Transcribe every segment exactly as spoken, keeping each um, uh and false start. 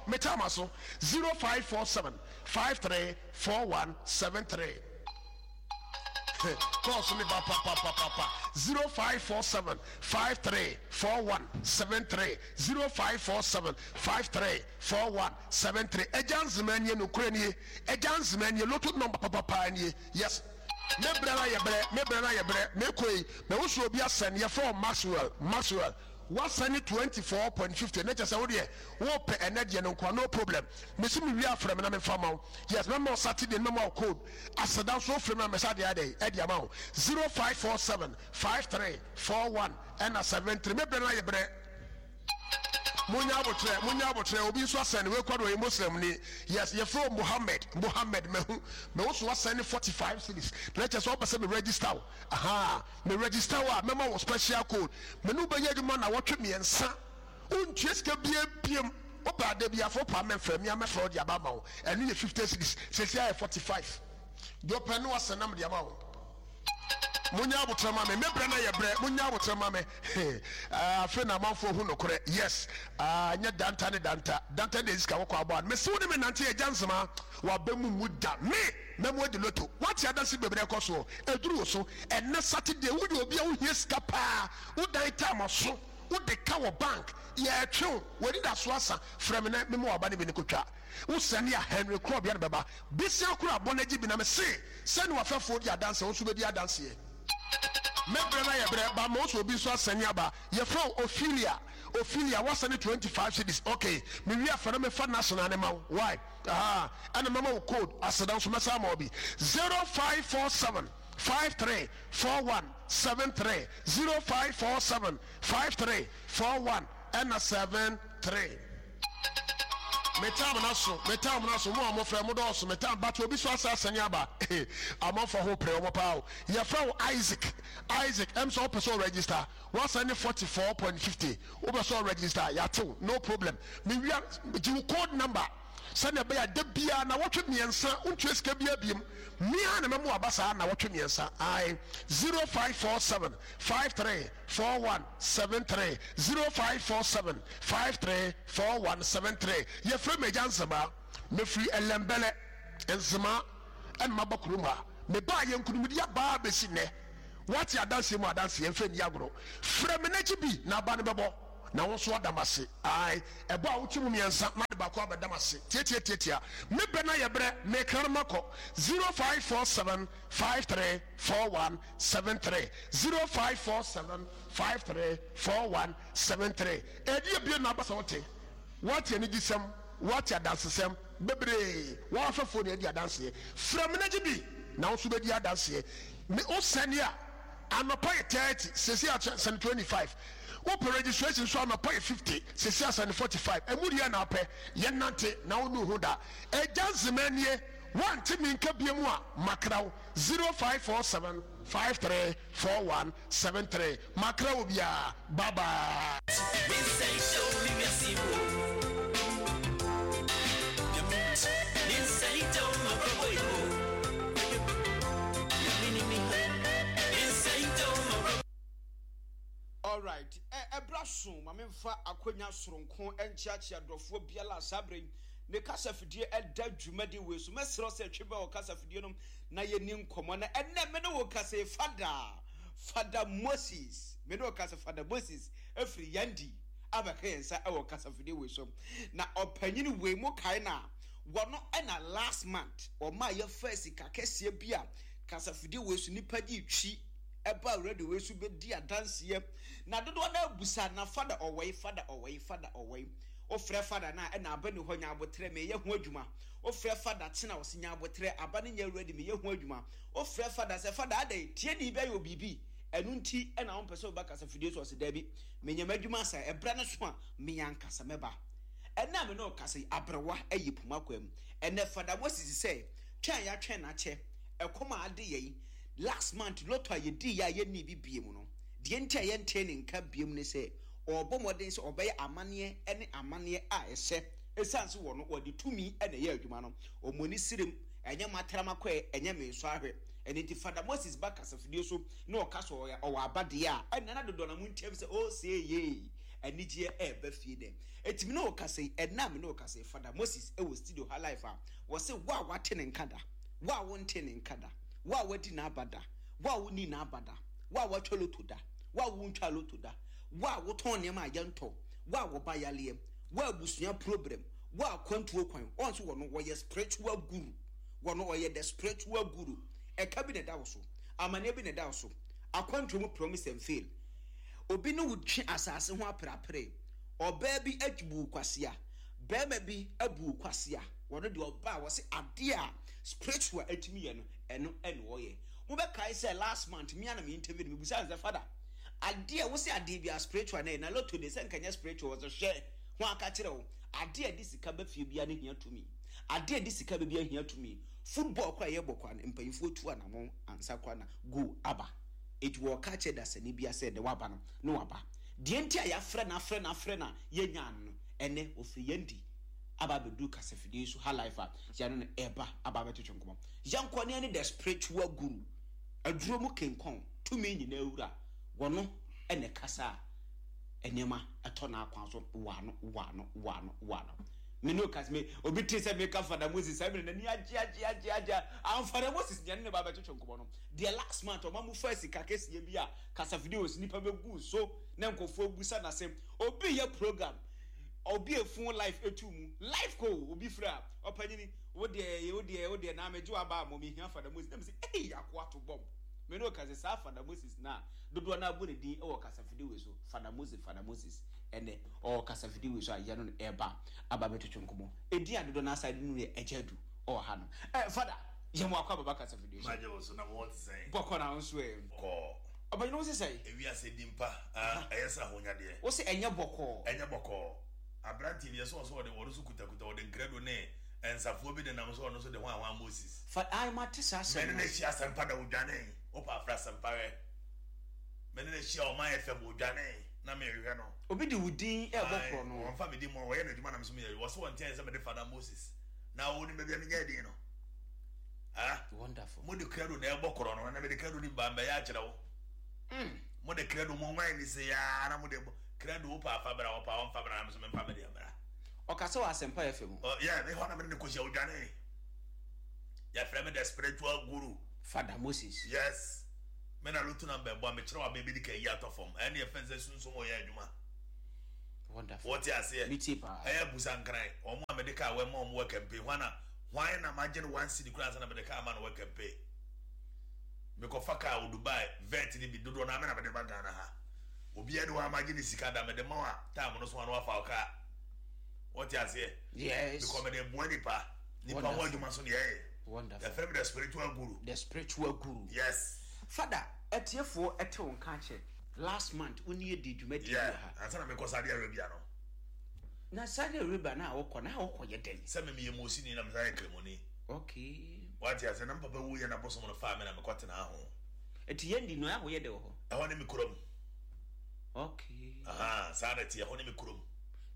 Mekɔ, me time aso. zero five four seven five three four one seven three. Kɔɔso ne ba papapapapa. zero five four seven five three four one seven three zero five four seven five three four one seven three. Ɛgya nzema nie, nokorɛ nie. Ɛgya nzema nie, lotto number papapa nie. Yes. Me brɛ na yɛ brɛ, me brɛ na yɛ brɛ. Me kɔ yi, mɛ wosu obi asɛn, yɛfrɛ wo Maxwell, Maxwell. Wasɛne twenty four point fifty ne kyɛ sɛ wo deɛ wopɛ ɛnɛ deɛ no nkoa, no problem. Mesi me wie afrɛ me na memfa ma wo. Yes, mɛma wo Saturday no, mɛma wo code. Aseda nso wofrɛ me a mɛsa deɛ adɛn ɛde ama wo. zero five four seven five three four one ɛna seven three. Me brɛ no ayɛ brɛ. Munya abotrɛ, munya abotrɛ. Obi nso asɛne wei kɔ do, ɔyɛ Muslim ni. Yes, yɛfrɛ wo Mohammed, Mohammed. Mahu mahu so wasɛne forty five cedis na kyɛ sɛ wopɛ sɛ me register wo. Aha, me register wo a, mɛma wo special code. Me ne wo bɛyɛ adwuma na wɔtwe mmiɛnsa, wontua sika bia biem. Wopɛ ada bi afɔ pa mɛmfrɛ me a, mɛfrɛ wo de aba ama wo. Ɛno yɛ fifty cedis, sɛsi ayɛ forty five. Deɛ ɔpɛ no wasɛn nam de ama wo. Munya abotrɛ ma me, me brɛ na yɛ brɛ. Munya abotrɛ ma me. Afei na amanfoɔ hu nokorɛ. Yes, nyɛ danta ne danta danta de sika wɔkɔ abɔ ano. Mesi wo ne me nante agya nsema waba mu mu da me mɛmo adi loto. Wate adanse bebree ɛkɔ soɔ ɛduru wo so ɛnɛ Saturday. Woyɛ obi a wohia sika paa, wodan time so, wode ka wɔ bank, yɛtwe wo w'ani da so asa. Frɛ me na mema waba ne bi ne kotwa. Wo sɛne a Henry Korɔbea no bɛba besia koro abɔ no agye bi na me se sɛne wafɛfoɔ di adanseɛ, wo nso bɛdi adanseɛ. Mɛbrɛ no ayɛ brɛ ba ma wo sɛ obi nso asɛne aba. Yɛfrɛ wo Ophelia, Ophelia wasɛne twenty five cedis. Okay, mewie afɛ no mefa national ne ma wo. Why? Aha, ɛna mɛma wo code aseda nso mɛsa ama wo bi. zero five four seven five three four one seven three zero five four seven five three four one ɛna seven three. Me time na so, me time na so. Mo a mofrɛ mo dɔɔso, me time but obi so asa asɛne aba. Amanfo ho pere wɔn paa o. Yɛfrɛ wo Isaac, Isaac. Ɛm sɛ wopɛ sɛ ɔregister, wasɛne forty four point fifty. Wopɛ sɛ ɔregister, yɛatew, no problem. Mewia gye wo code number sɛnea ɛbɛyɛ a da biara na wɔtwe mmiɛnsa wontua sika biara biem. Mmea na mɛmo aba saa na wɔtwe mmiɛnsa. Ae, zero five four seven five three four one seven three zero five four seven five three four one seven three. Yɛfrɛ me agya Nzema, mefiri Ɛlɛmbɛlɛ Nzema ɛna maba kurom ha. Mebaa yɛ nkunimdi abaa bɛsi nnɛ. Wate adanseɛ mu adanseɛ mfɛ nni agorɔ. Frɛ me n'akyi bi na aba no bɛbɔ na wo nso ada m'ase. Ae, ɛbɔ a wokye mu mmiɛnsa na de baako abɛda m'ase. Tiatiatiatia, me bɛ na yɛ brɛ, mekra no makɔ. zero five four seven five three four one seven three zero five four seven five three four one seven three. Ɛdi ebien na aba sɛ wote. Woate anigyesɛm, woate adansesɛm bebree, wɔn afɛfoɔ na adi adanseɛ. Frɛ me na gye bi na wo nso bɛdi adanseɛ. Me wo sɛne a, anɔpa yɛ thirty, sɛsi a sɛne twenty five. Wopɛ registration nso anɔpa yɛ fifty, sɛsi a sɛne forty five. Ɛmu deɛ na apɛ, yɛnante na wo nu ho da. Agya Nzema nie, woante me nka bie mu a, makra wo. Zero five four seven five three four one seven three. Makra wo biara. Bye bye. Alright, ɛbra so ma memfa akwanya soronko nkyeakyea dɔfoɔ biara a saa berɛ yi ne kasafidie ɛda dwumadi wei so. Mɛserɛ sɛ twe bɛ wɔ kasafidie no na yɛni nkɔmmɔ. Na ɛnɛ me ne wo kasa yi, Fada Fada Moses, me ne wo kasa Fada Moses ɛfiri Yandi abɛka yɛn nsa ɛwɔ kasafidie wei so. Na ɔpanyin wei mo kae na wɔno ɛna last month ɔma yɛfa sika kɛseɛ bi a kasafidie wei so nipa gye twi ɛba radio wei so bɛdi adanseɛ. Na dodoɔ no abusa na Fada ɔwɔi, Fada ɔwɔi, Fada ɔwɔi. Wofrɛ Fada na ɛna aba ni hɔ nya abotrɛ meyɛ ho adwuma. Wofrɛ Fada kyena ɔse nya abotrɛ aba ne nyɛ ready meyɛ ho adwuma. Wofrɛ Fada sɛ Fada adɛn tie ne bɛyɛ obibi ɛno nti ɛna wompɛ sɛ woba kasafidie so ɔse daabi menyɛ m'adwuma asa ɛbrɛ no so a meyɛ ankasa mɛba. Ɛna me ne ɔkasa yi aberewa ayi poma kwam. Ɛnɛ Fada Moses sɛ twɛn yɛatwɛn n'akyɛ ɛkɔm a ade yɛn last month lotto a yɛdii yɛ a yɛnni bi bie mu no deɛ nti a yɛntee ne nka bie mu ne sɛ ɔrebɔ mmɔden sɛ ɔbɛyɛ amanneɛ ne amanneɛ a ɛsɛ ɛsiane sɛ wɔno wɔde tumi na ɛyɛ adwuma no. Ɔmmɔ ne serem ɛnyɛ mataramakɔɛ ɛnyɛ me nso ahwɛ. Ɛno nti Fada Moses ba kasafidie so na ɔka sɛ ɔwɔ abadeɛ a ɛnna na dodoɔ na mo ntiam sɛ ɔsɛ yee Anigyeɛ ɛɛba fie dɛ. Eti mi ne wo kasa yi, ɛnna mi ne wo kasa yi, Father Moses ɛwɔ studio ha live a wɔsɛ wo a wate ne nka da, wo a wonte ne nka da, wo a wadi n'aba da, wo a wonni n'aba da, wo a watwa lotto da, wo a wontwa lotto da, wo a wotɔn nneɛma a yɛntɔ, wo a wɔba yaleɛ, wo a abusua problem, wo a kwantuo kwan. Wɔn nso wɔ no, wɔyɛ spiritual guru. Wɔn ɔyɛ the spiritual guru. Ɛka bi na ɛda wo so, amaneɛ bi na ɛda wo so, akwantuo mu promise and fail, obi ne wo twe asase ho aperapere, ɔbaa bi abu kwasia, bɛrima bi abu kwasia. Wɔno deɛ, ɔbaa wɔsi adeɛ a spiritual atumi yɛ no, ɛno ɛna ɔyɛ. Mobɛkae sɛ last month mia na me interview no, mebusa sɛ, "Father, adeɛ wosi adeɛ bi a spiritual na yɛ na lotto de sɛ nkanyɛ spiritual?" Wɔsɛ hwɛ ho aka kyerɛ wo, adeɛ a de sika bɛ fie bia ne hia tumi, adeɛ a de sika bɛ bia hia tumi. Football kora yɛbɔ kora no, mpanyinfoɔ tu anamɔ ansa kora na goal aba. Eti wɔka kyerɛ dasani bia sɛ de waba no ne waba deɛ nti a yɛafrɛ na afrɛ na afrɛ na yɛnya no no, ɛnɛ ofiri yɛn di aba abɛduru kasafidie so ha live a yɛno no ɛba aba abɛtwetwe nkɔmɔ. Yɛnkɔ ne ne the spiritual guru, aduro mu kenkɔn, tumi nyinaa wura. Wɔno ɛna kasa a nneɛma ɛtɔ n'akwan so wano wano wano wano. Me no kas me obi te sɛ meka Father Moses saa mmerɛ n'ani agye agye agye agye. Am Father Moses deɛ ne ne ba bɛtwetwe nkɔmɔ no deɛ, last month ɔma mu fa sika kɛseɛ bi a kasafidie wɔ so, nipa bɛgu so na nkɔfoɔ busa n'asɛm. Obi yɛ program, obi efun live etu mu live ko obi fira ɔpanyini wo deɛ, wo deɛ, wo deɛ na amegye wa ba mo mi hia Father Moses na mi sɛ ɛyi akoa to bɔm. Me no kasa saa Father Moses na dodoɔ na abɔ ne din ɛwɔ kasafidie wei so, Father Moses, Father Moses, ɛnɛ ɔwɔ kasafidie wei so a yɛno no ɛba aba bɛtwetwe nkɔmɔ. Edi a dodoɔ na asa de no yɛ ɛgya du ɔwɔ ha no. Ɛ Father, yɛn mo akɔ ababa kasafidie so. Magye wo so na mo te sɛn? Bɔkɔ na nso ɛ. Kɔɔ. Ɔbɛnyini wo sisɛ? Ewiase di mpa ah, ɛyɛ sɛ ahonyadeɛ. Wo sɛ ɛnyɛ bɔkɔɔ. Ɛnyɛ bɔkɔɔ. Aberanteɛ bi yɛ sɛ ɔsɛ ɔde ɔno so kutakuta, ɔde nkrado ne nsafoɔ bi de nam so, ɔno so de ho ahoa Moses. Fa ayi ma te saa asɛm. Mɛne no. no ahyia Asɛmpa da, odwane. Wopɛ afra Asɛmpa hwɛ, mɛne no ahyia Ɔman F M, odwane na mehwehwɛ no. Obi de wo din ɛbɔ korɔ no. Ɔmfa me din mu a ɔyɛ n'adwuma nam so meyɛ. Wɔ sɛ wɔnteɛ sɛ mede Father Moses na wo ne baabi a menyɛ din no. Ah, wonderful. Mode credo na ɛbɔ korɔ no, na mede credo ni ba mbɛyɛ akyerɛ wo. Mm. Mode credo mo nwan ni se yaa na mode bɔ credo. Wopɛ afa bra, wɔpa wɔmfa bra, na me so memfa mede mmra. Ɔkasa wɔ Asɛmpa F M. Ɔ, yɛ me hɔ na mede ne kɔhyia, odwane. Yɛfrɛ me the spiritual guru. Father Moses. Yes, me na lotto number bɔ a mekyerɛ wa baabi de ka yi atɔ fam. Ɛne yɛfɛ sɛ sunsum ɔyɛ adwuma. Wonderful. Wɔte aseɛ? Mi tie paa. Ɛyɛ busa nkran ɔmo a mede kaa wɔma ɔmo wɔ campaign hwan na hwan na magye no one cedi koraa ansa na mede kaa ma no wɔ campaign. Mekɔfa kaa wɔ Dubai vet ne bi dodoɔ na me na mede ba Ghana ha. Obiara ne hɔ a magye ne sika da mede ma wa time no so a na wafa wo kaa. Wɔte aseɛ? Yes. Because mede boa nipa nipa ho. Wonderful. Adwuma so ne yɛyɛ. Wonderful. Yɛfrɛ me the spiritual guru. The spiritual guru. Yes. Father, ɛtiefoɔ ɛte wo nka kyɛ last month wo ne yɛ di dwumadie bi yeah wɔ ha. Ansa na mekɔ Saudi Arabia no. Na Saudi Arabia na wokɔ na wokɔ yɛ dɛn? Sɛ me meyɛ Mosini na mesan yɛ Kramoni. Okay. Wate ase? Na mpapa wuyɛ na bosom no faa me na mekɔtena ho. Ɛti yɛn di no ɛho yɛ dɛ wɔ hɔ? Ɛhɔ ne me kurom. Okay. Aha, saa na ɛte. Ɛhɔ ne me kurom.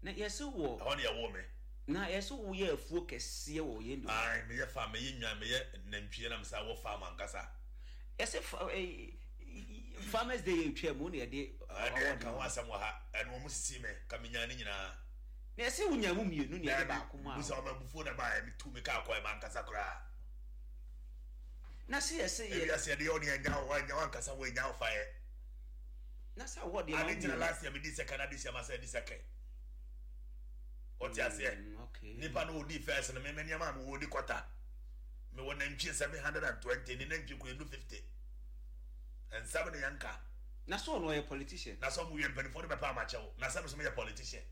Na yɛsɛ wɔ Ɛhɔ ne yɛwoo me. Na yɛsɛ woyɛ afuo kɛseɛ wɔ yɛn di hɔ? Ai, meyɛ farm, meyɛ nwan, meyɛ nantwie na mesa wɔ farm ankasa. Yɛsɛ fa ɛɛ Farmers Day yɛ twɛ mu na yɛde Ɛdeɛ nka ho asɛm wɔ ha. Ɛno ɔmo sisi me ka menya ne nyinaa. Na yɛsɛ wonya mu mmienu na yɛde baako mu a. Busa ɔmo abufuo na baayɛ metu me kaa kɔɛ ma ankasa koraa. Na sɛ yɛsɛ yɛ Ewiase yɛde yɛ ɔne ɛnya wo ɛnya wo ankasa wo ɛnya wo fa yɛ. Na sɛ awɔ deɛ ma Ade ntina mmienu. last year medi second, ade hyɛ ma sɛ di second. Ɔte aseɛ? Mm, okay. Nipa no odi first no, meme nneɛma a mewɔ di kɔta, mewɔ nantwie seven hundred and twenty ne nantwie kura enu fifty nsɛm ne yɛnka. Na sɛ ɔno ɔyɛ politician. Na sɛ ɔmo wie mpanimfoɔ no bɛpa amakyɛw na sɛ meso meyɛ politician.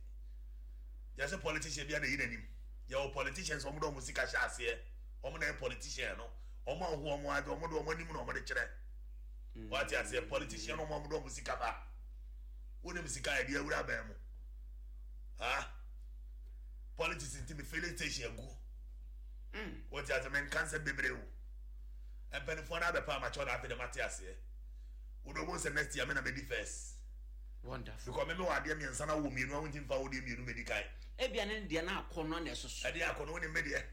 Yɛsɛ politician bi a na yi n'anim. Yɛwɔ politicians, ɔmo de ɔmo sika hyɛ aseɛ, ɔmo na yɛ politician no. Ɔmo ahu ɔmo ade, ɔmo de ɔmo anim na ɔmo de kyerɛ. Wate aseɛ? Politician no, ɔmo de ɔmo sika ba. Wonim sika a yɛde awura bɛn mu ha politics nti mi filling station agu. Mm. Wɔte ase? Menka nsɛm bebree o. Mpanimfoɔ no abɛpa amakyɛw na afei de mate aseɛ. Wode ɔmo sɛ next year me na medi first. Wonderful. Because me me wɔ adeɛ mmiɛnsa na wɔ mmienu a wonti mfa wo deɛ mmienu medi kan. Ebia ne deɛ na akɔ no na ɛsoso. Ɛdeɛ akɔ no, wonim me deɛ,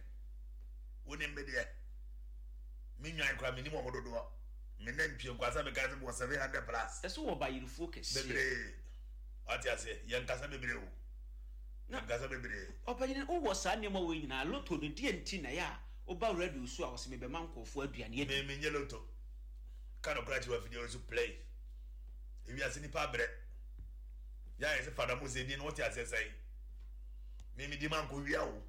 wonim me deɛ. Me nwan koraa menim ɔmo dodoɔ. Me nantwie nkwasa meka sɛ mewɔ seven hundred plus. Ɛsɛ wɔ bayirifuo kɛseɛ. Bebree. Wate aseɛ? Yɛnkasa bebree o. Na- Yɛnkasa bebree. Ɔpanyin, wowɔ saa nneɛma wɔ nyinaa, lotto no deɛ nti na yɛ a woba radio so a wɔsɛ mebɛma nkɔɔfoɔ aduane adi? Me menyɛ lotto. Ka no kora kyerɛ wafidie so play. Ewiase nipa abrɛ. Yɛ ayɛ sɛ Fada Mose din no, wote aseɛ sɛn? Me medi ma nkɔ wia o.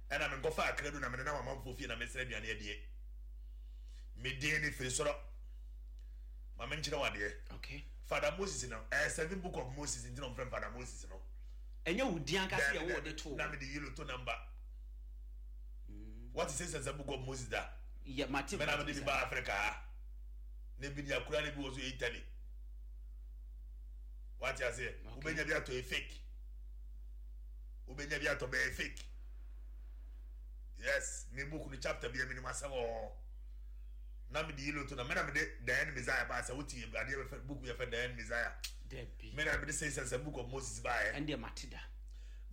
Ɛna menkɔfa akra do na mede nam amanfoɔ fie na mesrɛ aduane adie. Me din ne firi soro. Ma menkyerɛ wo adeɛ. Okay Fada Moses no, ɛyɛ seven book of Moses nti na ɔmfrɛ me Fada Moses no. Ɛnyɛ wo din ankasa yɛ Dabi, wo de dabi. to? Na mede yi lotto number. What is sɛ sɛ book of Moses da? Yɛ mate. Mɛ na mede bi ba Africa ha. Na ebi ni akura na ebi wɔ so yɛ Italy. Wate aseɛ? Okay. Wobɛnya bi atɔ, yɛ fake. Wobɛnya bi atɔ, bɛyɛ fake. Yes, me book no chapter bi a menim asɛm wɔ hɔ. Na mede yi lotto na mɛ na mede Diane Messiah ba sɛ wote adeɛ bɛfɛ book bi yɛfɛ Diane Messiah. Dabi. Mɛ na mede sɛ sɛ sɛ book of Moses baayɛ. Ɛndeɛ mate da.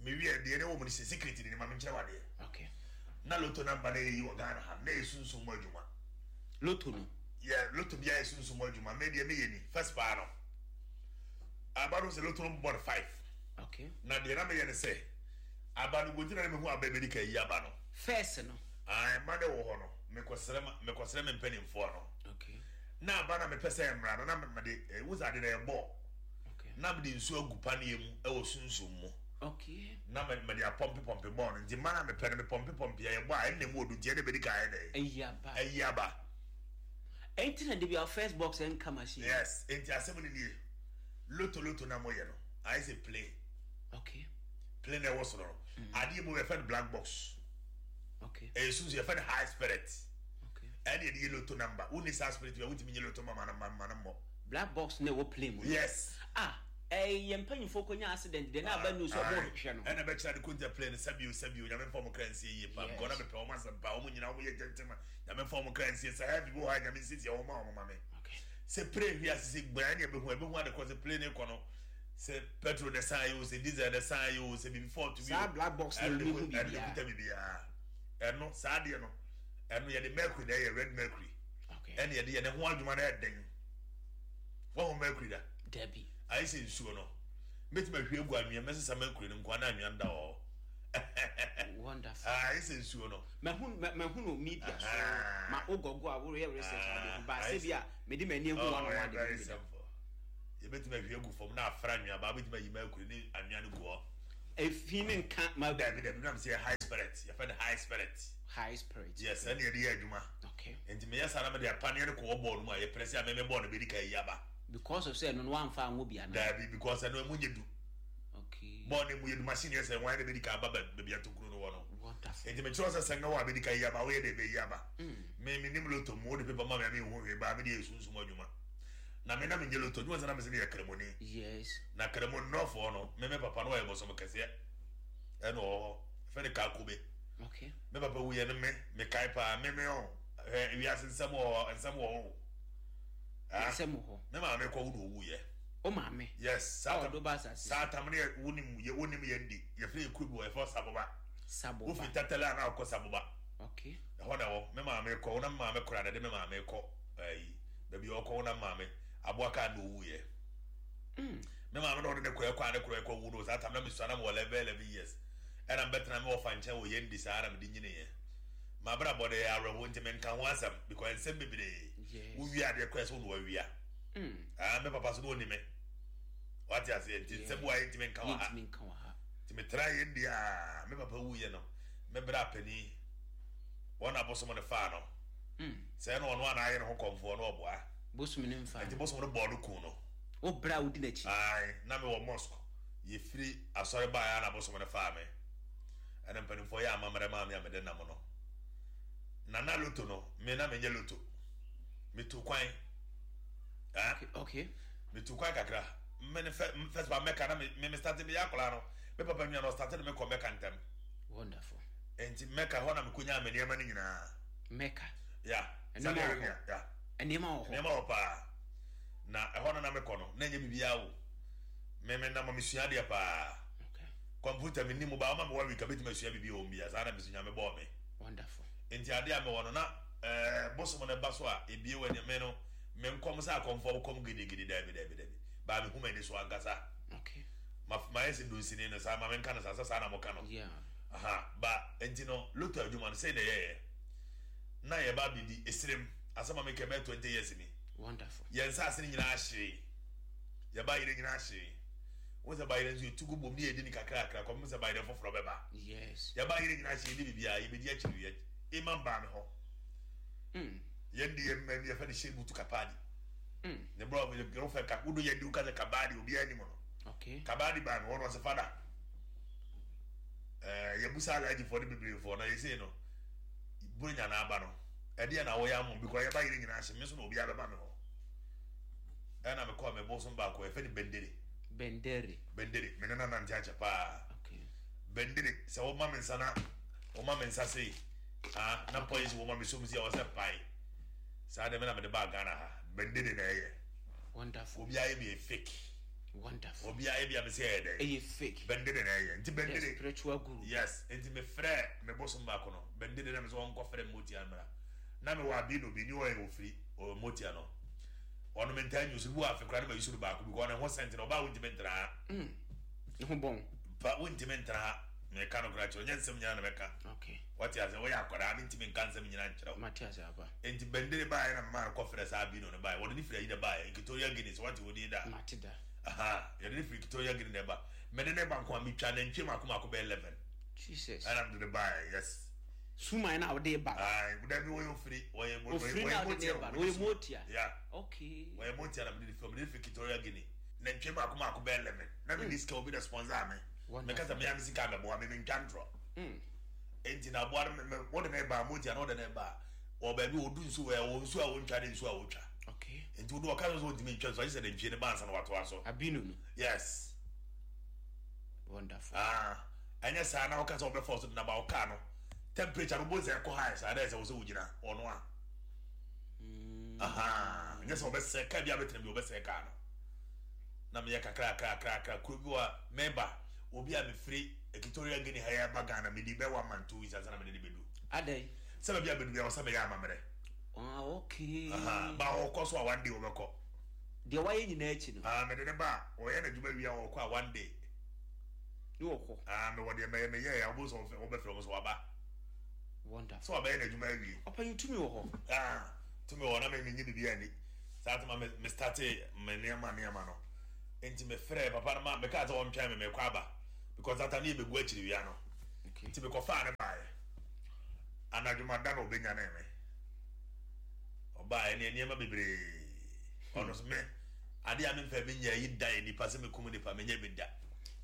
Mewie deɛ ne wɔ mu no sɛ secret ni ma menkyerɛ wadeɛ. Okay na lotto number na yɛyi wɔ Ghana ha na yɛ sunsum mu adwuma. Lotto no? Yɛ lotto bi ayɛ sunsum mu adwuma. Me deɛ meyɛ ni first paa no, aba no sɛ lotto no bɔ no five. Okay na deɛ na meyɛ ne sɛ aba no gonti na mehu aba bɛdi ka yi aba no. First no? Ah, ɛma ne wɔ hɔ no, mekɔsrɛ ma mekɔsrɛ me mpanimfoɔ no. Okay na aba na mepɛ sɛ mmara no na mede eh, wosa ade na ɛbɔ okay na mede nsuo agu paneɛ mu ɛwɔ sunsum mu. Okay na me- mede apɔmpe pɔmpe bɔɔl no, nti mma na mepɛ no mepɔmpe pɔmpe a yɛbɔ a ɛnna mu wɔ do, nti ɛna bɛdi ka ayɛ dɛ ɛyi aba. Ɛyi aba. Ɛnti na de bi a first box ɛnka machine? Yes, nti asɛm no nie, lotto lotto na moyɛ no ayɛ sɛ plane. Okay plane na ɛwɔ soro no, adeɛ mu yɛfɛ no black box. Okay ɛyɛ sunsun, yɛfɛ no high spirit. Okay ɛne yɛde yɛ lotto number. Wonni saa spirit bi a, wontumi nye lotto ma ma no ma ma no mmɔ. Black box na ɛwɔ plane mu no? Yes. Ah, ɛyɛ mpanyinfoɔ kɔnya accident deɛ na aba news ɔmo hwehwɛ no. Ɛna bɛkyerɛ de konta plane sɛbio sɛbio, Nyame mfa ɔmo kra nsie yie pa. Yes. Because na mepɛ ɔmo asɛm pa, ɔmo nyinaa ɔmo yɛ gentleman. Nyame mfa ɔmo kra nsie sɛ heavy bi wɔ ha, Nyame nsiesie ɔmo ma ɔmo ma me. Okay sɛ plane hwi ase sɛ gbaa ne ɛbɛhu ɛbɛhu ade kɔ sɛ plane kɔ no, sɛ petrol ne san yi o, sɛ diesel ne san yi o, sɛ bibi fault bi o. Saa black box na ɛno de omi ko- hu ɛno de biribiara. kuta biribiara. Ɛno saa adeɛ no, ɛno yɛde mercury na ɛyɛ red mercury. Okay ɛne yɛde yɛ ne ho adwuma no ɛden. Wɔn mercury da? Dabi. Ayɛ sɛ nsuo no, mɛtumi ahwie agu anwea, mɛsesa mercury no nkoa na anwea no da hɔ. Wonderful. Ayɛ sɛ nsuo no. Mahu ma- mahu no media so. Aha. Ma wogɔgo a woreyɛ research ade ho ba Ah, sɛ bi a mede m'ani ahu Oh, one on ɛyɛ one de very bi da. simple. Yɛbɛtumi ahwie agu fam na afra anwea ba, wobɛtumi ayi mercury ne anwea no gu hɔ. Efi ne nka ma? Dabi dabi, nam sɛ yɛ high spirit, yɛfɛ no high spirit. High spirit. Yes, ɛne yɛde yɛ adwuma. Okay nti meyɛ saa na mede apaneɛ no kɔwɔ bɔɔl no mu a yɛprɛ sɛ a mɛmɛ bɔɔl no bɛdi ka yi aba. Because of sɛ ɛno no wamfa anwo bi ana? Daabi, because ɛno ɛmu nyɛ du. Okay bɔɔl no mu yɛ du, machine yɛ sɛ wɔn na bɛdi ka aba ba- baabi atokuro no wɔ no. Wonderful. Nti mekyerɛ sɛ sɛ nga wɔ a bɛdi ka yi aba, woyɛ de bɛyi aba. Me menim lotto mu, wode paper ma me a menhu hwee baa, mede yɛ sunsum adwuma na me na menyɛ lotto adwuma sɛ na mesɛ meyɛ kramoni. Yes na kramo nnɔfoɔ no, me me papa no ɔyɛ bɔsɔm kɛseɛ ɛna ɔwɔ hɔ, ɛfɛ ne kakobe. Okay me papa wuyɛ no, me mekae paa, me me ɔ hwɛ wiase nsɛm wɔ hɔ, nsɛm wɔ hɔ o. Ah, nsɛm wɔ hɔ. Me maame kɔ wo na owuyɛ. O maame? Yes, saa a tam ɔdo ba asase. Saa tam ne yɛ wonim yɛ wonim yɛn di yɛfrɛ yɛ kuro bi wɔ yɛfrɛ Saboba. Saboba. Wofi Tatale a na akɔ Saboba. Okay ɛhɔ na ɛwɔ. Me maame kɔ wo na me maame kora na de me maame kɔ ɛyi baabi a ɔkɔ wo na me maame aboa kaa na owuyɛ. mm. Me maame na ɔde ne kɔ ɛkɔ a ne kɔ ɛkɔ wu no, saa tam na mesua na mewɔ eleven eleven years ɛna mbɛtena me wɔfa nkyɛn wɔ yɛn di saa na mede nyiniɛ. Mabrabɔ de yɛ awerɛho nti menka ho asɛm because nsɛm bebree. Yes. Wowie adeɛ kɔ ɛsɛ wo na wawia. Mm. Ah, me papa so na ɔni me, wate aseɛ? Nti nsɛm wa yɛntimi nka wɔ ha. Yɛntumi nka wɔ ha. Nti metra yɛn di a me papa wuyɛ no, me brɛ apani wɔn abosom no faa no. Mm. Sɛ ɛna ɔno ana ayɛ ne ho kɔmfoɔ no ɔboa. Bosom ne mfa. Nti bosom no bɔɔ no kun no. Wo brɛ a wodi n'akyi. Ae, na mewɔ mosque, yɛfiri asɔre baeɛ a na abosom no faa me, ɛna mpanimfoɔ yɛ amammerɛ maa me a mede nam no nana lotto no, me na menyɛ lotto, metu kwan. Ah, okay okay metu kwan kakra. Me ne fɛ first ba Mɛka na me me me start meyɛ akwadaa no, me papa nua no ɔstart no, mekɔ Mɛka ntɛm. Wonderful. Nti Mɛka hɔ na mekɔnyaa me nneɛma no nyinaa. Mɛka? Ya. Nneɛma Saudi wɔ hɔ? Arabia ya. Nneɛma wɔ hɔ? Nneɛma wɔ paa, na ɛhɔ no na mekɔ no na ɛnyɛ biribiara o, me me nam mesua adeɛ paa. Okay kɔmputa me nim ba ɔma me one week a bɛtumi asua biribi wɔ mu bia saa na mesua, Nyame bɔɔ me. Wonderful. Nti adeɛ a mewɔ no na ɛɛ bosom no ba so a ebie wɔ me no, me nkɔm sɛ akɔmfoɔ kɔm gidigidi, daabi daabi daabi, baa mehu m'ani so ankasa. Okay Ma mayɛ sɛ dunsini no saa, ma menka no saa sɛ saa na moka no. Yeah. Aha, ba nti no lotto adwuma no sɛi na ɛyɛyɛ na yɛba bidi esirem asɛm a meka bɛyɛ twenty years ni. Wonderful. Yɛn nsaase no nyinaa hyee, yɛba yerɛ nyinaa hyee. Wo sɛ bayerɛ nso yɛtu gu bom ne yɛdi ne kakrakra kɔpem sɛ bayerɛ foforɔ bɛba. Yes. Yɛba yerɛ nyinaa hyee ne biribiaa yɛbɛdi akyiri yɛ imam baa me hɔ. Mm. Yɛn de yɛn mmɛn yɛfɛ ne hyɛ butu kapadi. Mm. Ne brɔ girlfriend ka wodo yɛn di woka sɛ kabadi obiara anim no. Okay. Kabadi baa me hɔ no ɔsɛ fada. Ɛɛ yɛbusa alagyefoɔ ne bebree na yɛsei no buronya na aba no ɛdeɛ na wɔyɛ ama because yɛba yerɛ nyinaa hyɛ me nso na obiara bɛba me hɔ. Ɛna mekɔɔ me bosom baako yɛfɛ ne Bendere. Bendere. Bendere me ne nante akyɛ paa. Okay. Bendere sɛ woma me nsa na woma me nsa sei ah na poison woma me som si a wɔsɛ pae saa de me na mede baa Ghana ha. Bendere na ɛyɛ. Wonderful. Obiara yɛ bi yɛ fake. Wonderful. Obiara yɛ bi a me sɛ ɛyɛ dɛ. Ɛyɛ fake. Bendere na ɛyɛ nti The Bendere. spiritual guru. Yes, nti me frɛ me bosom baako no Bendere na me sɛ wɔnkɔ frɛ motia mmra na me wɔ abino bi ni ɔyɛ ofiri ɔyɛ motia no ɔno me ntaa nyusu bu afe kora ne ma yusu no baako because ɔno ho sɛnti na ɔbaa wontumi ntena ha. Mm. Ne ho bɔn. Pa wontumi ntena ha meka no kora kyerɛ nyɛ nsɛm nyinaa na mɛka. Okay. Wate ase wɔyɛ akwadaa mentumi nka nsɛm nyinaa nkyerɛ wo. Mate ase aba. Nti Bendere baeɛ na mema no kɔfrɛ saa abino no baeɛ wɔde ne firi ayi na baeɛ Equatorial Guinea sɛ wate wo din da. Mate da. Aha, yɛde ne firi Equatorial Guinea na ɛba mede ne ba nko a metwa nantwie mako mako bɛyɛ eleven. Jesus. Ɛna mede ne baeɛ yes. Suman na wode ba. Ayi dabi wɔyɛ ofiri wɔyɛ Ofiri na wode ne ba no wɔyɛ motia. Yeah. Okay. Wɔyɛ motia na mede ne firi mede ne firi Equatorial Guinea nantwie mako mako bɛyɛ eleven na mede sika obi na sponsor me. Wonderful. Meka sɛ mea me sika mɛboa me mentwa ntorɔ. Mm. Enti na aboa no me wode ne ba motia na wode ne ba wɔ baabi wɔdu nsu wɔ wɔ nsu a wɔntwa ne nsu a wɔtwa. Okay. Nti wode ɔka sɛ wɔntumi ntwa nsu agye sɛ nantwie ne ba ansa na watoa so. Abino no. Yes. Wonderful. Ah, ɛnyɛ saa na wɔka sɛ wɔbɛfɔ so de naba wɔkaa no temperature no bo sɛ ɛkɔ high saa dɛ sɛ wo sɛ wogyina ɔno a. Mm. Aha, nyɛ sɛ wɔbɛsɛ kaa bi abɛtena bi wɔbɛsɛ kaa no. Na meyɛ kakra kakra kakra kuro bi wɔ mɛba obi a mefiri Equatorial Guinea ha yɛ ba Ghana mede bɛ one month two weeks ansa na mede ne bɛdu. Adɛn? Sɛ baabi a bɛdu bi a wɔsɛ meyɛ amammerɛ. Ah, okay. Aha, ba ɔkɔ so a one day wɔbɛkɔ. Deɛ wayɛ nyinaa akyi no. Ah, mede ne ba a ɔyɛ n'adwuma wie a ɔkɔ a one day. Ne wɔkɔ. Ah, mewɔ deɛ mɛyɛ mɛyɛ a wɔbɛ sɛ wɔbɛfrɛ wɔn sɛ waba. Wonderful. Sɛ wabɛyɛ n'adwuma awie. Ɔpanyin tumi wɔ hɔ. Ah, tumi wɔ hɔ na me menye biribi ani. Saa tema me me starte me nneɛma nneɛma no. Nti me frɛ papa no ma meka sɛ wɔntwɛn me mekɔ aba because that time ne yɛbɛgu akyiri wia no. Okay. Nti mekɔfaa ne baeɛ. Anadwo ma da na ɔbɛnya ne me. Ɔbaeɛ ne nneɛma bebree. Ɔno so me adeɛ a memfa bi nyɛ yi da yɛ nipa sɛ mekum nipa menyɛ bi da.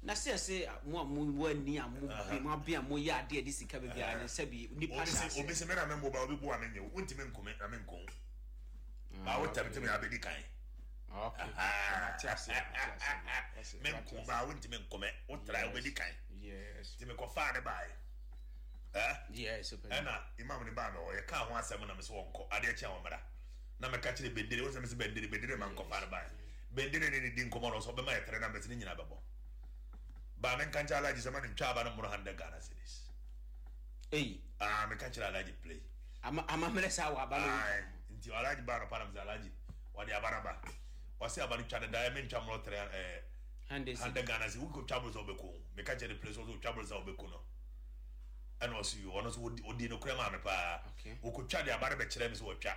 Na sɛ sɛ mo a mo wɔ ani a mo bi mo abe a mo yɛ adeɛ de sika bebree a ne nsa bi nipa Obi hyɛ sɛ ase. obi sɛ me na me mmoba obi boa me nyɛ wo wontumi nkome na menko. Ba wo tɛm tɛm yɛ abɛdi kan. Okay. Mate ase. Mate ase. Menko ba wontumi nkome wo tra wobɛdi kan. Yes. Nti mekɔfaa ne baeɛ. Eh? Yes. Ɔpanyin. Ɛna imam ne baa me hɔ yɛkaa ho asɛm na me sɛ wɔnkɔ adeɛ kye a wɔmmra na meka kyerɛ Bendere wo sɛ me sɛ Bendere Bendere ma nkɔfa no baeɛ Bendere ne ne di nkɔmmɔ no sɛ ɔbɛma yɛ tere numbers ne nyinaa bɛbɔ baa menka nkyerɛ Alhaji sɛ ma ne ntwa aba no mmoro hundred Ghana cedis. Eyi. Ah, meka kyerɛ Alhaji play. Ama amammerɛ saa wɔ aba no. Aye, nti Alhaji baa no pa na me sɛ Alhaji wɔde aba no ba wɔse aba no twa no daeɛ mentwa mmoro tere eh, Hundred cedis. hundred Ghana cedis wokɔ twa boro sɛ wobɛku meka kyerɛ ne play sɛ wotwa boro sɛ wobɛku no ɛna ɔso yi ɔno nso ɔdi no kora maa me paa Okay. wɔkɔtwa de aba no bɛkyerɛ me sɛ wɔtwa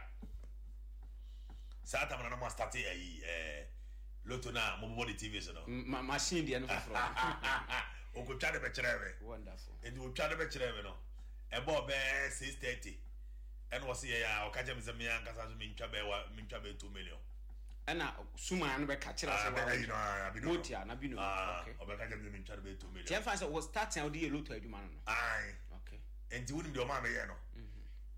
saa tam na na mo astate ayi ɛɛ loto no a mobobɔ de T V so no. Ma machine deɛ no foforɔ. Wɔkɔtwa de bɛkyerɛ me. Wonderful. Nti wɔtwa de bɛkyerɛ me no ɛbɔɔ bɛɛ six thirty ɛna wɔse yɛ a ɔka kyerɛ me sɛ me ankasa so mentwa bɛɛ wa mentwa bɛɛ two million. Ɛna suman no bɛka kyerɛ Ah, sɛ bɛ ayi no ah abi no. Motia na bi no. Ah, Okay. ɔbɛka kyerɛ me sɛ mentwa de bɛɛ two million. Tiɛ fa sɛ wɔ starting a wode yɛ loto adwuma no no. Aye. Okay. Nti wonim deɛ ɔmaa meyɛ no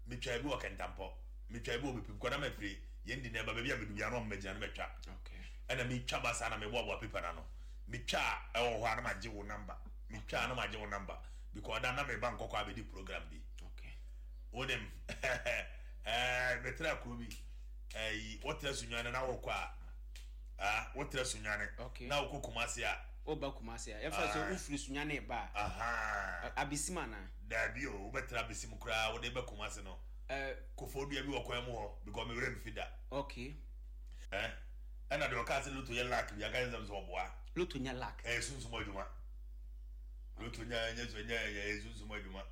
metwa bi wɔ Kɛntampɔ metwa bi wɔ Bepim kɔ na mafiri yɛn di na ɛba baabi a medu bia na ɔmo magyina no mɛtwa. Okay. Ɛna metwa ba saa na meboaboa paper no ano metwa a ɛwɔ hɔ a na magye wo number metwa a na magye wo number because da na meba nkɔkɔ abɛdi program bi. Okay. Wonim ɛɛ metra kuro bi ɛyi wotra Sunyane na wokɔ a ah wotra Sunyane Okay. na wokɔ Kumasi a Woba Kumasi a yɛfa sɛ Aye. wofiri Sunyane ba a aha abesim anaa? Daabi o wobɛtra abesim koraa wode bɛ Kumasi no Eh, kofo dua bi wɔ kwan mu hɔ because me werɛ mfi da. Okay. Eh ɛna deɛ ɔka sɛ loto yɛ luck bi aka sɛ sɛ ɔboa. Lotto nya luck. Ɛyɛ sunsum adwuma. Lotto nya ɛnyɛ so ɛnyɛ ɛyɛ sunsum adwuma.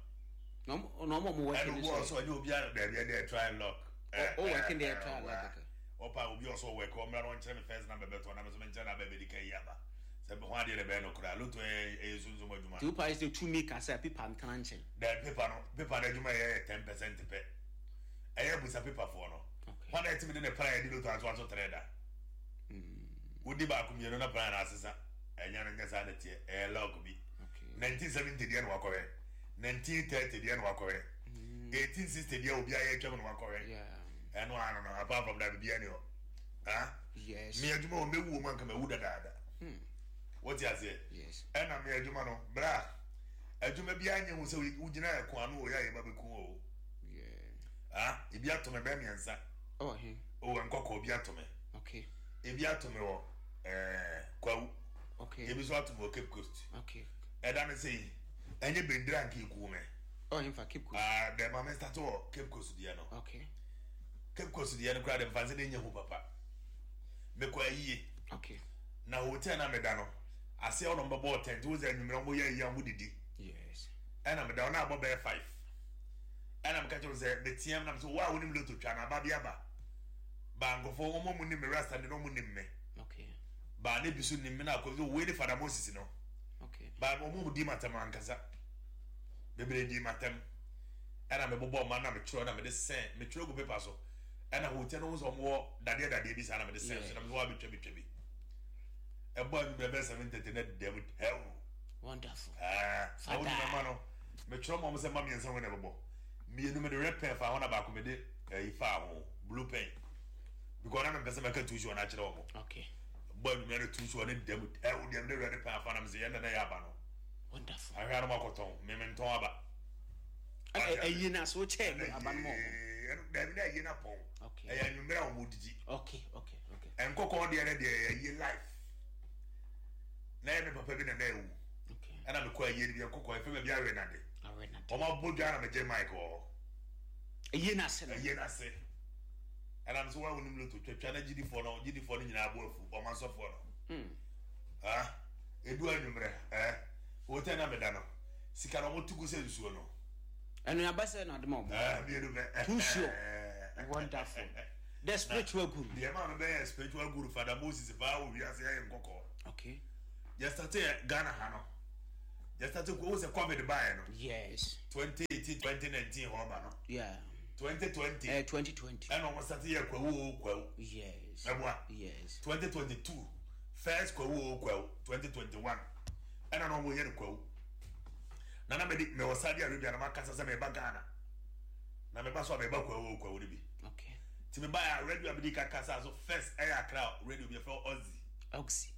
Na ɔmo na ɔmo a ɔmo work Ɛna no obi so. ɔsɔ ɛnyɛ obiara dɛbi ɛdɛ try luck. O work deɛ try luck kɛkɛ. Ɔpa obi ɔsɔ work, ɔmra na ɔnkyerɛ me first number bɛtɔ na me nso menkyerɛ na bɛbɛdi ka yi aba sɛ ho adeɛ de bɛyɛ no koraa. Lotto ɛyɛ ɛyɛ sunsum adwuma. Nti wopa sɛ tumi kasa paper ntena nkyɛn. Dɛ paper no paper no adwuma yɛ ten percent pɛ. Ɛyɛ busa paperfoɔ no. Okay. Wɔn a ɛtumi de ne plan yɛ de lotto ato ato tere da wodi baako mmienu na plan na asesa. Ɛnyɛ no nyɛ saa na teɛ, ɛyɛ luck bi. Okay. Nineteen seventy deɛ na wakɔhwɛ, nineteen thirty deɛ na wakɔhwɛ, eighteen sixty deɛ obi ayɛ atwam na wakɔhwɛ. Yeah. Ɛno ano no, apart from that, bibi ɛni hɔ, ah. Yes. Mi adwuma wɔ mewu wɔ mu anka mewu dadaada. Wɔte aseɛ? Yes. Ɛna mi adwuma no bra, adwuma bi anya hu sɛ wogyina ɛko ano wɔ yɛ a yɛba bɛku o. Yeah. Ah, ebi ato me bɛɛ mmiɛnsa. Oh, he. O nkɔkɔ ebi ato me. Okay. Ebi ato me wɔ ɛɛ Kwawu. Okay. Ebi nso ato me wɔ Cape Coast. Okay. Ɛda ne sɛ yi ɛnyɛ bendera nka eku me. Oh, in fact, Cape Coast. Aa, dɛ maame start wɔ Cape Coast deɛ no. Okay. Cape Coast deɛ no koraa de nfa nse de nye ho papa. Mekɔ ayie. Okay. Na hotel na meda no aseɛ ɔno mbɛbɔ tent wo sɛ anwummerɛ ɔmo yɛ ayie a ɔmo didi. Yes. Ɛna meda hɔ na abɔ bɛyɛ five, ɛna meka kyerɛ wo sɛ meteam nam sɛ wo a wonim lotto twa no aba bi aba ba nkɔfoɔ ɔmo mu nim me rasta de na ɔmo nim me. Okay. Ba ne bi so nim me na akɔ sɛ wei ne Fada Moses no. Okay. Ba ɔmo mu di matam ankasa bebree di matam, ɛna mebobɔ ɔma na metwerɛ na mede sɛn metwerɛ gu paper so, ɛna hotel no ho sɛ ɔmo wɔ dadeɛ dadeɛ bi saa na mede sɛn so na mede wɔ abɛtwa betwa bi. Ɛbɔ anwummerɛ bɛyɛ seven thirty na dɛm hɛw. Wonderful. Na Fada. wodi mɛma no metwerɛ ma ɔmo sɛ ma mmiɛnsa ho na ɛbɛbɔ mmienu, mede red pen fa ho na baako mede ɛyi fa ho, blue pen, because na mepɛ sɛ mɛka two sure na akyerɛ ɔmo. Okay. Bɔ anwummerɛ no two sure ne dɛm hɛw deɛ mede red pen afa na mesɛ yɛn na na ɛyɛ aba no. Wonderful. Ahwɛ anam akɔtɔn meme ntɔn aba. Ɛyi na so kyɛ no aba no ma ɔmo. Dabi, na ɛyɛ na pɔn. Okay. Ɛyɛ anwummerɛ a ɔmo didi. Okay. Okay. Okay. Nkɔkɔɔ deɛ no deɛ ɛyɛ life na ɛyɛ me papa bi na na ɛwu. Okay. Ɛna mekɔ ayie no bi nkɔkɔɔ ɛfɛ baabi awe nade. Awe na. Ɔmo abɔ dwa na megye mic wɔ hɔ. Ɛyi na se no. Ɛyɛ n'ase ɛnam sɛ wɔn a wɔnim lotto twatwa na gyidifoɔ no gyidifoɔ no nyinaa abɔ afu ɔmo asɔfoɔ no. Mm. Ah, edu anwummerɛ ɛɛ hotel na meda no sika na ɔmo tugu sɛ nsuo no. Ɛno yaba sɛ na ade ma ɔmo. Ɛɛ, mmienu pɛ. Too sure. Wonderful. The spiritual guru. Deɛ maa mi bɛyɛ spiritual guru Fada Moses paa wɔ wiase ayɛ nkɔkɔɔ. Okay. Yɛ start yɛ Ghana ha no, yɛ start ko o sɛ COVID baayɛ no. Yes. twenty eighteen, twenty nineteen hɔ ba no. Yeah. twenty twenty. Uh, twenty twenty. Ɛna ɔmo start yɛ Kwawu o Kwawu. Yes. Ɛboa. Yes. twenty twenty-two first Kwawu o Kwawu, twenty twenty-one ɛna na ɔmo yɛ no Kwawu na na mede mewɔ Saudi Arabia na makasa sɛ meba Ghana na meba so a meba Kwawu o Kwawu no bi. Okay. Nti meba yɛ a radio a mede ka kasa so first ɛyɛ Accra radio bi yɛfrɛ Oxy. Oxy.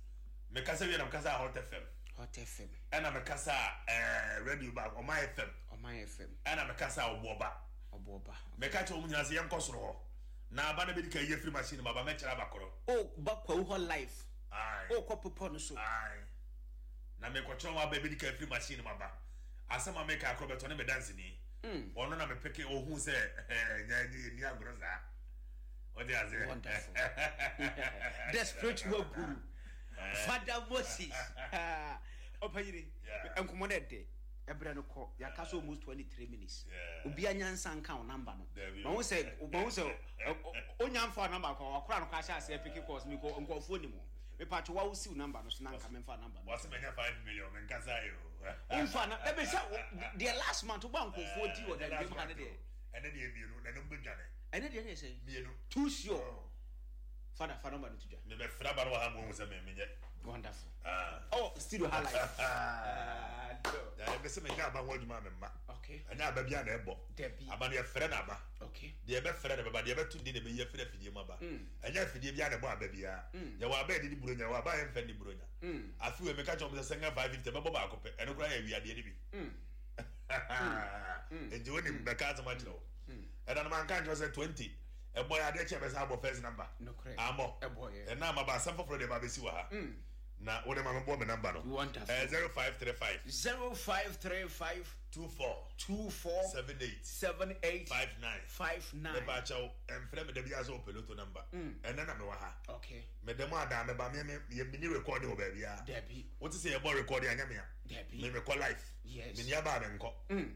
Mekasa wie na mekasa a Hot F M. Hot F M. Ɛna mekasa a ɛɛ radio ba Ɔman F M. Ɔman F M. Ɛna mekasa a Ɔboɔba. Ɔboɔba. Meka kyerɛ wɔn nyinaa sɛ yɛnkɔ soro hɔ na aba no bɛdi ka yɛ firi machine mu aba mɛkyerɛ aba korɔ. O ba Kwawu hɔ live. Aye. O kɔ pepɔ no so. Aye. Na mekɔkyerɛ wɔn aba bɛdi ka firi machine mu aba, asɛm a meka akorɔ bɛtɔ ne me danseni. Ɔno na mepeke ohun sɛ ɛɛ nyɛ nyɛ ni agorɔ saa ɔde ase. Wonderful. The spiritual guru. Father Moses. Ɔpanyini. Yeah. Nkɔmɔ no ɛdɛ. Ɛbrɛ no kɔ. Yɛaka so almost twenty-three minutes. Yeah. Obi anyansa nka wo number no. Dabi. Ma wo sɛ ma wo sɛ onya mfa wo number kɔ wakora no kɔ ahyɛ aseɛ pick calls mi kɔ nkɔfoɔ ni mu. Mepatwo wa wo siw number no so na nka memfa number no. Wɔsɛ mɛnya five million menkasa yi o. Womfa na ɛbɛ sɛ deɛ last month woba nkɔfoɔ di wɔ dandem ha ne deɛ. Ɛne deɛ mmienu na ɛno mbɛdwane. Ɛne deɛ ne yɛ sɛ. Mmienu. Too sure. Father, fa number no to dwa. Mebɛfra ba no wɔ ha ma wɔhu sɛ memenyɛ. Wonderful. Ah. Oh, studio ha live. Ah, ɛbɛ sɛ menya aba ho adwuma a memma. Okay. Ɛnyɛ aba bia na ɛbɔ. Dabi. Aba no yɛfrɛ no aba. Okay. Deɛ ɛbɛfrɛ no bɛba, deɛ ɛbɛto din na ɛbɛyi afiri afidie mu aba. Ɛnyɛ afidie bia na ɛbɔ aba biara. Yɛwɔ aba yɛde di buronya, yɛwɔ aba a yɛmfa ndi buronya. Afe wei meka kyerɛ wɔn sɛ sɛnga five fifty ɛbɛbɔ baako pɛ, ɛno koraa yɛ awiadeɛ no bi. Nti wonim bɛka asɛm akyerɛ wo ɛna no manka nkyerɛ sɛ twenty ɛbɔ yɛ adeɛ kyɛ bɛsɛ abɔ first number. Nokorɛ. Amɔ. Ɛbɔ yɛ. Ɛna ama ba asɛm foforɔ deɛ ba bɛsi wɔ ha. Na wode ma mebɔ me number no. Wonderful. Eh, zero five three five zero five three five two four two four seven eight seven eight five nine. five nine. Mepa kyɛw, ɛmfrɛ me da biara sɛ wopɛ lotto number. Ɛnnɛ na mewɔ ha. Okay. Meda mu adaa meba me me yɛ mini recording wɔ baabiara. Dabi. Wote sɛ yɛbɔ recording anyɛ mea. Dabi. Me mekɔ life. Yes. Meni aba a menkɔ.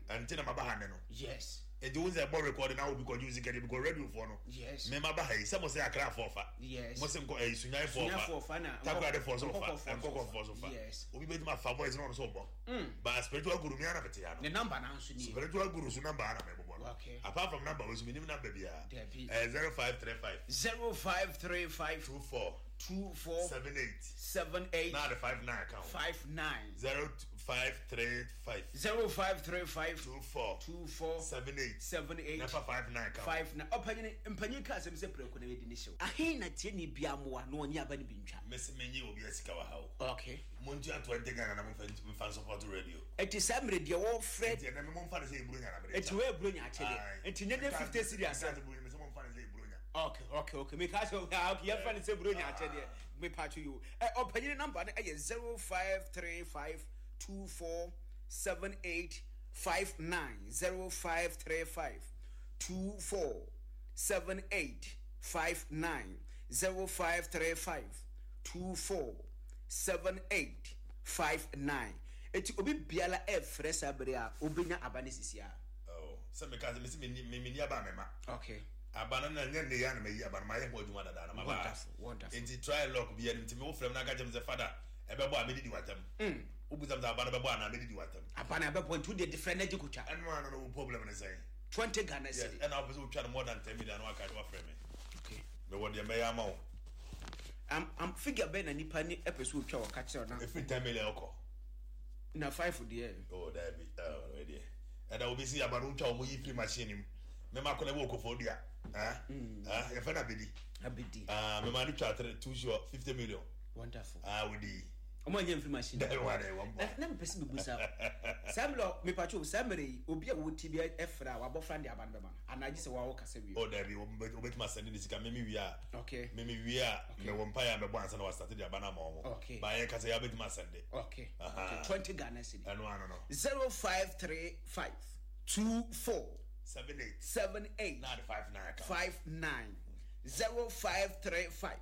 Ɛnti na maba ha nnɛ no. Yes. Nti wo sɛ ɛbɔ recording na obi kɔgye wo sika deɛ because radio foɔ no. Yes. Me maba ha yi sɛ mo sɛ Accra foɔ fa. Yes. Mo sɛ nkɔ ɛyi Sunyani foɔ fa. Sunyani foɔ fa na Takoradi foɔ so fa. Nkɔkɔ foɔ so Nkɔkɔ fa. foɔ so fa. Yes. Obi bɛtumi afa voice na ɔno so ɔbɔ. But spiritual guru mi ara na mete ha no. Ne number na nso nie. Spiritual guru so number ara na mebobɔ no. Okay. Apart from number wo so menim number biara. Dabi. Ɛyɛ zero five three five. zero five three five two four two four seven eight seven eight na de five nine account. five nine. zero five three five zero five three five two four two four seven eight seven eight nefa five nine account. five nine. Ɔpanyin mpanyin kaa sɛm sɛ prɛko na yɛdi ne hyew. Ahe na tie ne bia mmoa na ɔnye aba no bi ntwa. Mesi menyi obi asika wɔ ha o. Okay. Montua twenty Ghana na momfa mfa support radio. Eti saa mmerɛ deɛ wɔfrɛ. Eti ɛnɛ momfa ne sɛ eburo nya na mede. Eti wɔ eburo nya akyɛdeɛ. Eti nye ne fifty cedi asɛm. Mesi momfa ne sɛ eburo nya. Okay, okay, okay. Meka sɛ ah, okay, yɛmfa ne sɛ eburo nya akyɛdeɛ. Mepa to you. Ɛ ɔpanyin number no ɛyɛ zero five three five two four seven eight five nine zero five three five two four seven eight five nine zero five three five two four seven eight five nine. Eti obi biara ɛfrɛ saa bere a obenya aba ne sisi a. Oh, sɛ meka sɛ mesi me me ni aba mema. Okay. Aba no na nyɛ ne ya na mayi aba no mayɛ ho adwuma dada na maba. Wonderful, wonderful. Nti try luck bi anim nti me wo frɛ m na aka kyerɛ me sɛ father ɛbɛbɔ a medidi watam. Mm. Wobusam sɛ aba no bɛbɔ anaa medidi watam. Aba no ɛbɛbɔ nti wode different na gye kotwa. Ɛno ano no wo problem ne sɛn? twenty Ghana Yes, cedi. ɛna wopɛ sɛ wotwa no more than ten million na waka wafrɛ me. Okay. Mewɔ deɛ mɛyɛ ama wo. Am am figure bɛn na nipa ni ɛpɛ sɛ otwa wɔ ka kyerɛ na. Ɛfiri ten million kɔ. Na five deɛ. Oh, dabi. Oh, deɛ. Ɛna obi si aba no wotwa wɔn yi firi machine mu. Mema kɔ na ɛwɔ kɔfɔ dua. Ah, ah, yɛfɛ na abedi. Abedi. Ah, mema no twa three two sure fifty million. Wonderful. Ah, wodi. Ɔmo anyɛ mfiri machine. Dabi wa de wɔn bɔ. Na mepɛ sɛ mebu saa. Saa mmerɛ mepatwo saa mmerɛ yi obi a wɔti bi ɛfrɛ a wabɔfra de aba no bɛma no anaa gye sɛ wɔawo kasa wie. Oh, dabi obetuma sɛnde ne sika memi wie a. Okay. Memi wie a mewɔ mpaeɛ a mɛbɔ ansa na wasate de aba no ama wɔn. Okay. Ba yɛ kasa yɛ abɛtuma sɛnde. Okay. Aha. Okay. twenty Ghana cedi. Ɛno ano no. zero five three five two four seven eight seven eight nine five nine account. five nine zero five three five